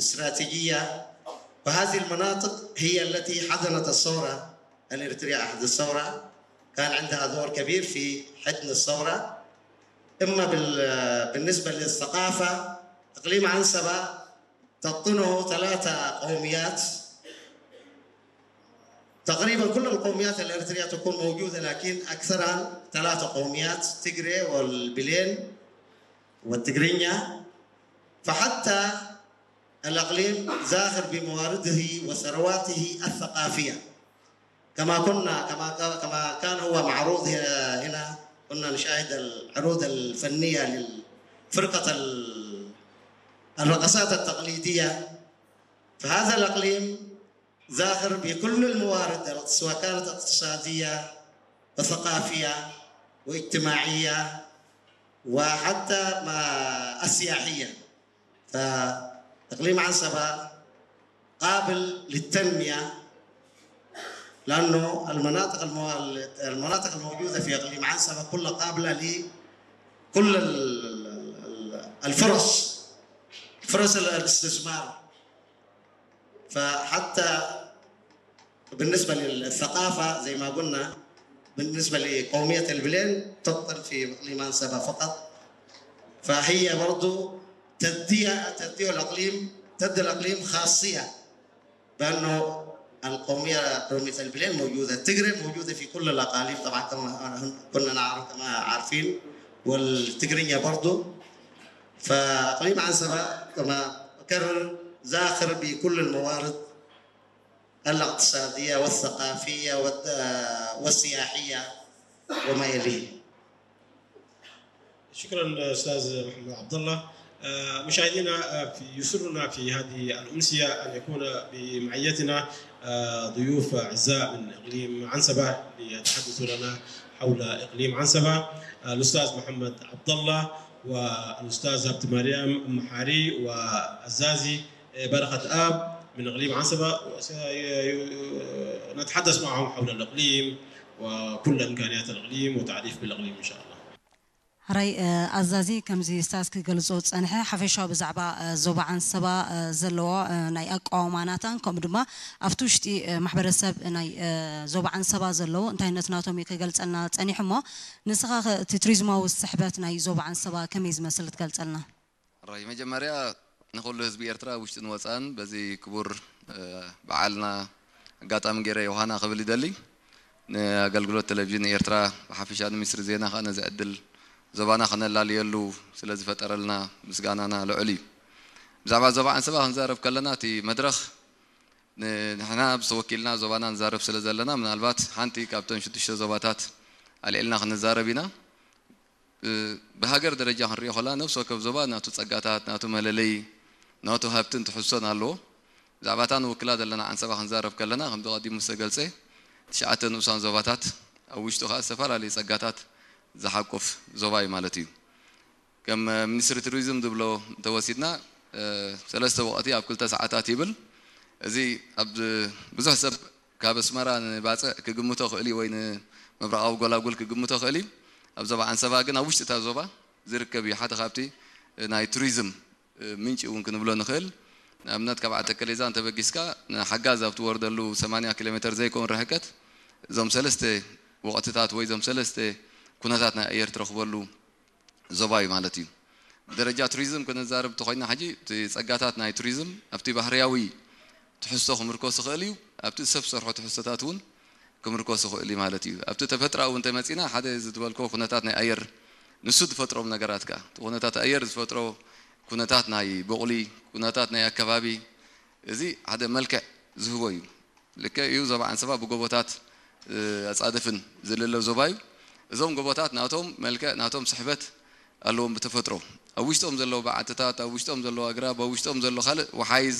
استراتيجية، فهذه المناطق هي التي حضنت الثورة الإريترية. أحد الثورة كان عندها دور كبير في حضن الثورة، إما بال- بالنسبة للثقافة. إقليم عنسبة تقطنه ثلاثة قوميات. تقريبا كل القوميات الإريترية تكون موجودة، لكن أكثرها ثلاثة قوميات: تيغري والبلين والتيغرينيا. فحتى الإقليم زاخر بموارده وثرواته الثقافية، كما كنا كما كما كان هو معروض هنا. كنا نشاهد العروض الفنية للفرقة الرقصات التقليدية. فهذا الإقليم زاخر بكل الموارد، سواء كانت اقتصادية وثقافية واجتماعية وحتى ما السياحية. فإقليم عنسبة قابل للتنمية، لأنه المناطق المو... المناطق الموجودة في إقليم عنسبة كلها قابلة لكل ال- ال- ال- الفرص، فرص الاستثمار. فحتى بالنسبة للثقافة، زي ما قلنا، بالنسبة لقومية البلين تقطن في إقليم عنسبة فقط، فهي برضو تدي تدي الإقليم تدي الإقليم خاصية، بأنه القومية، قومية البلين موجودة، التيغري موجودة في كل الأقاليم طبعا، كما كنا نعرف، كما عارفين، والتيغرينيا برضو. فإقليم عنسبة، كما أكرر، زاخر بكل الموارد الاقتصادية والثقافية والد- والسياحية وما يليه. شكرا استاذ محمد عبد الله. آه، مشاهدينا، آه، في- يسرنا في هذه الامسيه ان يكون بمعيتنا، آه، ضيوف اعزاء من اقليم عنسبه ليتحدثوا لنا حول اقليم عنسبه. آه، الاستاذ محمد عبد الله والاستاذ هبت مريم محاري وعزازي، آه، بركه اب من اقليم عنسبه. وسي- نتحدث معهم حول الاقليم وكل امكانيات الاقليم وتعريف بالاقليم ان شاء الله. ሕራይ ኣዛዚ፣ ከምዚ ስታዝ ክገልጾ ዝጸንሐ ሓፈሻዊ ብዛዕባ ዞባ ዓንሰባ ዘለዎ ናይ ኣቃውማ ናታን ከምኡ ድማ ኣብቲ ውሽጢ ማሕበረሰብ ናይ ዞባ ዓንሰባ ዘለዉ እንታይነት ናቶም እዩ ክገልጸልና ጸኒሑ። እሞ ንስኻ እቲ ቱሪዝማዊ ስሕበት ናይ ዞባ ዓንሰባ ከመይ ዝመስል ትገልጸልና? ሕራይ መጀመርያ ንኹሉ ህዝቢ ኤርትራ ውሽጥን ወፃን በዚ ክቡር በዓልና ኣጋጣሚ ገይረ ዮሃና ክብል ይደሊ። ንኣገልግሎት ቴሌቪዥን ኤርትራ ብሓፈሻ ንሚኒስትሪ ዜና ከኣ ነዚ ዕድል ዞባና ከነላልየሉ ስለ ዝፈጠረልና ምስጋናና ልዑል እዩ። ብዛዕባ ዞባ ዓንሰባ ክንዛረብ ከለና እቲ መድረኽ ንሕና ብዝተወኪልና ዞባና ንዛረብ ስለ ዘለና ምናልባት ሓንቲ ካብተን ሽዱሽተ ዞባታት ኣልዒልና ክንዛረብ ኢና። ብሃገር ደረጃ ክንሪኦ ከላ ነብሲ ወከፍ ዞባ ናቱ ጸጋታት፣ ናቱ መለለይ፣ ናቱ ሃብትን ትሕዝቶን ኣለዎ። ብዛዕባ እታ ንውክላ ዘለና ዓንሰባ ክንዛረብ ከለና ከምቲ ቀዲሙ ዝተገልጸ ትሽዓተ ንኡሳን ዞባታት ኣብ ውሽጡ ከኣ ዝተፈላለዩ ጸጋታት ዝሓቁፍ ዞባ እዩ ማለት እዩ። ከም ሚኒስትሪ ቱሪዝም ዝብሎ እንተወሲድና ሰለስተ ወቕቲ ኣብ ክልተ ሰዓታት ይብል። እዚ ኣብ ብዙሕ ሰብ ካብ ኣስመራ ንባጽዕ ክግምቶ ክእል እዩ ወይ ንምብራቓዊ ጎላጉል ክግምቶ ክእል እዩ። ኣብ ዞባ ዓንሰባ ግን ኣብ ውሽጢ እታ ዞባ ዝርከብ እዩ። ሓደ ካብቲ ናይ ቱሪዝም ምንጪ እውን ክንብሎ ንኽእል። ንኣብነት ካብ ዓዲ ተከሌዛ እንተበጊስካ ንሓጋዝ ኣብ ትወርደሉ ሰማንያ ኪሎ ሜተር ዘይከውን ርሕቀት እዞም ሰለስተ ወቕትታት ወይ እዞም ሰለስተ ኩነታት ናይ ኣየር ትረኽበሉ ዞባ እዩ ማለት እዩ። ብደረጃ ቱሪዝም ክንዛረብ እንተኾይና ሕጂ እቲ ጸጋታት ናይ ቱሪዝም ኣብቲ ባህርያዊ ትሕዝቶ ክምርኮስ ይኽእል እዩ፣ ኣብቲ ሰብ ሰርሖ ትሕዝቶታት እውን ክምርኮስ ይኽእል እዩ ማለት እዩ። ኣብቲ ተፈጥሮኣዊ እንተመጺና ሓደ እዚ ዝበልኮ ኩነታት ናይ ኣየር ንሱ ዝፈጥሮም ነገራት ከኣ እቲ ኩነታት ኣየር ዝፈጥሮ ኩነታት ናይ ቦቕሊ ኩነታት ናይ ኣከባቢ እዚ ሓደ መልክዕ ዝህቦ እዩ። ልክዕ እዩ ዞባ ዓንሰባ ብጎቦታት ኣፃድፍን ዝልለ ዞባ እዩ። እዞም ጎቦታት ናቶም መልክዕ ናቶም ስሕበት ኣለዎም ብተፈጥሮ ኣብ ውሽጦም ዘለዉ በዓትታት ኣብ ውሽጦም ዘለዉ ኣግራብ ኣብ ውሽጦም ዘሎ ካልእ ወሓይዝ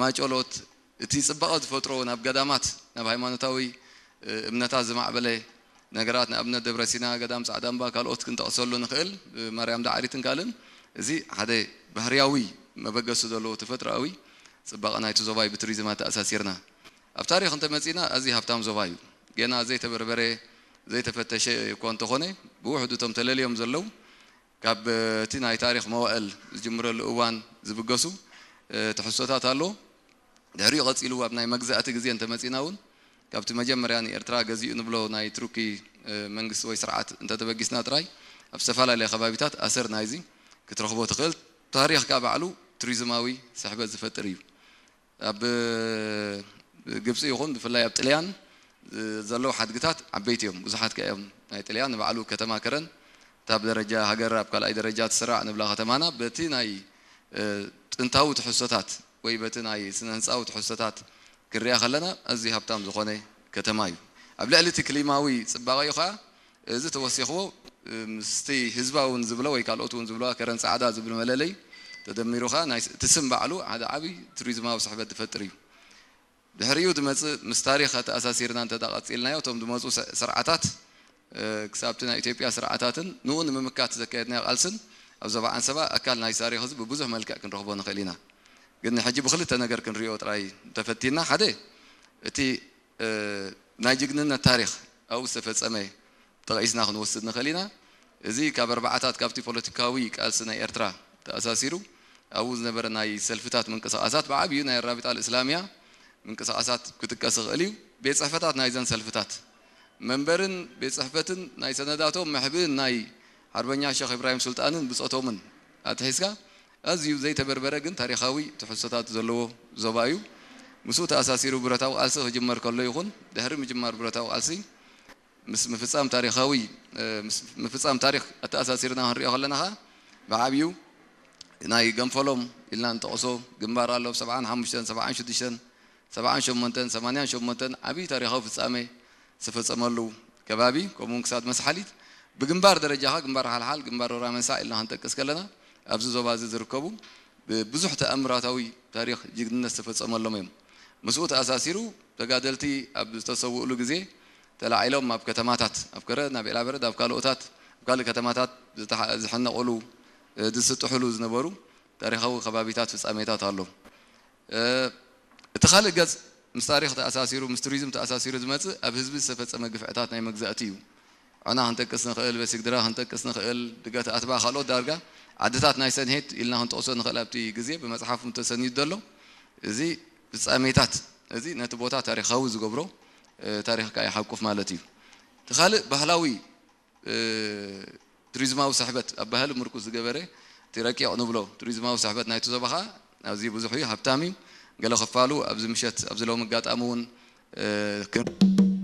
ማጨሎት እቲ ፅባቐ ዝፈጥሮ ናብ ገዳማት ናብ ሃይማኖታዊ እምነታት ዝማዕበለ ነገራት ንኣብነት ደብረ ሲና ገዳም ፃዕዳ እምባ ካልኦት ክንጠቕሰሉ ንኽእል ማርያም ዳዕሪትን ካልእን እዚ ሓደ ባህርያዊ መበገሲ ዘለዎ ተፈጥሮኣዊ ፅባቐ ናይቲ ዞባ እዩ ብቱሪዝም ኣተኣሳሲርና ኣብ ታሪኽ እንተመፂና ኣዝዩ ሃብታም ዞባ እዩ። ገና ዘይተበርበረ ዘይተፈተሸ እኳ እንተኾነ ብውሕዱ እቶም ተለልዮም ዘለዉ ካብ እቲ ናይ ታሪኽ መዋእል ዝጅምረሉ እዋን ዝብገሱ ትሕዝቶታት ኣሎ። ድሕሪኡ ቀጺሉ ኣብ ናይ መግዛእቲ ግዜ እንተመጺና እውን ካብቲ መጀመርያ ንኤርትራ ገዚኡ ንብሎ ናይ ቱርኪ መንግስቲ ወይ ስርዓት እንተተበጊስና ጥራይ ኣብ ዝተፈላለየ ከባቢታት ኣሰር ናይዚ ክትረኽቦ ትኽእል። ታሪኽ ከኣ ባዕሉ ቱሪዝማዊ ስሕበት ዝፈጥር እዩ። ኣብ ግብፂ ይኹን ብፍላይ ኣብ ጥልያን ዘለዉ ሓድግታት ዓበይቲ እዮም። ብዙሓት ከ እዮም ናይ ጥልያን ንባዕሉ ከተማ ከረን እታ ብደረጃ ሃገር ኣብ ካልኣይ ደረጃ ትስራዕ ንብላ ከተማና በቲ ናይ ጥንታዊ ትሕዝቶታት ወይ በቲ ናይ ስነ ህንፃዊ ትሕዝቶታት ክንሪኣ ከለና ኣዝዩ ሃብታም ዝኾነ ከተማ እዩ። ኣብ ልዕሊ እቲ ክሊማዊ ፅባቐ እዩ ከዓ እዚ ተወሲኽዎ ምስቲ ህዝባ እውን ዝብሎ ወይ ካልኦት እውን ዝብለዋ ከረን ፃዕዳ ዝብል መለለይ ተደሚሩ ከዓ ናይ እቲ ስም ባዕሉ ሓደ ዓብዪ ቱሪዝማዊ ስሕበት ዝፈጥር እዩ። ድሕሪኡ ዝመፅእ ምስ ታሪኽ ኣተኣሳሲርና እንተ ቀፂልናዮ እቶም ዝመፁ ስርዓታት ክሳብቲ ናይ ኢትዮጵያ ስርዓታትን ንኡ ንምምካት ዘካየድናዮ ቃልስን ኣብ ዞባ ዓንሰባ ኣካል ናይ ታሪኽ እዚ ብብዙሕ መልክዕ ክንረኽቦ ንኽእል ኢና። ግን ሕጂ ብክልተ ነገር ክንሪኦ ጥራይ እንተፈቲና ሓደ እቲ ናይ ጅግንነት ታሪኽ ኣብኡ ዝተፈፀመ ጠቒስና ክንወስድ ንኽእል ኢና። እዚ ካብ ኣርባዓታት ካብቲ ፖለቲካዊ ቃልሲ ናይ ኤርትራ ተኣሳሲሩ ኣብኡ ዝነበረ ናይ ሰልፍታት ምንቅስቓሳት ብዓብዩ ናይ ኣራቢጣ ልእስላምያ ምንቅስቓሳት ክጥቀስ ይኽእል እዩ። ቤት ፅሕፈታት ናይዘን ሰልፍታት መንበርን ቤት ፅሕፈትን ናይ ሰነዳቶም መሕብእን ናይ ሓርበኛ ሸኽ ኢብራሂም ሱልጣንን ብፆቶምን ኣትሒዝካ ኣዝዩ ዘይተበርበረ ግን ታሪኻዊ ትሕዝቶታት ዘለዎ ዞባ እዩ። ምስኡ ተኣሳሲሩ ብረታዊ ቃልሲ ክጅመር ከሎ ይኹን ድሕሪ ምጅማር ብረታዊ ቃልሲ ምስ ምፍፃም ታሪኻዊ ምስ ምፍፃም ታሪኽ ኣተኣሳሲርና ክንሪኦ ከለና ከዓ ብዓብዩ ናይ ገንፈሎም ኢልና ንጠቕሶ ግንባር ኣሎ። ሰብዓን ሓሙሽተን ሰብዓን ሽዱሽተን ሰብዓን ሸሞንተን ሰማንያን ሸሞንተን ዓብዪ ታሪኻዊ ፍፃመ ዝተፈፀመሉ ከባቢ ከምኡውን ክሳድ መስሓሊት ብግንባር ደረጃ ከዓ ግንባር ሓልሓል ግንባር ሮራ መንሳዕ ኢልና ክንጠቅስ ከለና ኣብዚ ዞባ እዚ ዝርከቡ ብዙሕ ተኣምራታዊ ታሪኽ ጅግንነት ዝተፈፀመሎም እዮም። ምስኡ ተኣሳሲሩ ተጋደልቲ ኣብ ዝተሰውእሉ ግዜ ተላዒሎም ኣብ ከተማታት ኣብ ከረን ኣብ ኤላበረድ ኣብ ካልኦታት ኣብ ካልእ ከተማታት ዝሕነቑሉ ዝስጥሕሉ ዝነበሩ ታሪኻዊ ከባቢታት ፍፃሜታት ኣሎ። እቲ ካልእ ገፅ ምስ ታሪኽ ተኣሳሲሩ ምስ ቱሪዝም ተኣሳሲሩ ዝመፅእ ኣብ ህዝቢ ዝተፈፀመ ግፍዕታት ናይ መግዛእቲ እዩ። ዑና ክንጠቅስ ንኽእል፣ በሲግድራ ክንጠቅስ ንኽእል፣ ድገት ኣትባ ካልኦት ዳርጋ ዓድታት ናይ ሰንሄት ኢልና ክንጠቕሶ ንኽእል ኣብቲ ግዜ ብመፅሓፍ ተሰኒዱ ዘሎ እዚ ፍፃሜታት እዚ ነቲ ቦታ ታሪኻዊ ዝገብሮ ታሪኽካ ይሓቁፍ ማለት እዩ። እቲ ካልእ ባህላዊ ቱሪዝማዊ ስሕበት ኣብ ባህሊ ምርኩስ ዝገበረ እቲ ረቂቕ ንብሎ ቱሪዝማዊ ስሕበት ናይቲ ዞባ ከዓ ኣዝዩ ብዙሕ እዩ፣ ሃብታም እዩ። ገለ ክፋሉ ኣብዚ ምሸት ኣብዚ ሎም ኣጋጣሚ እውን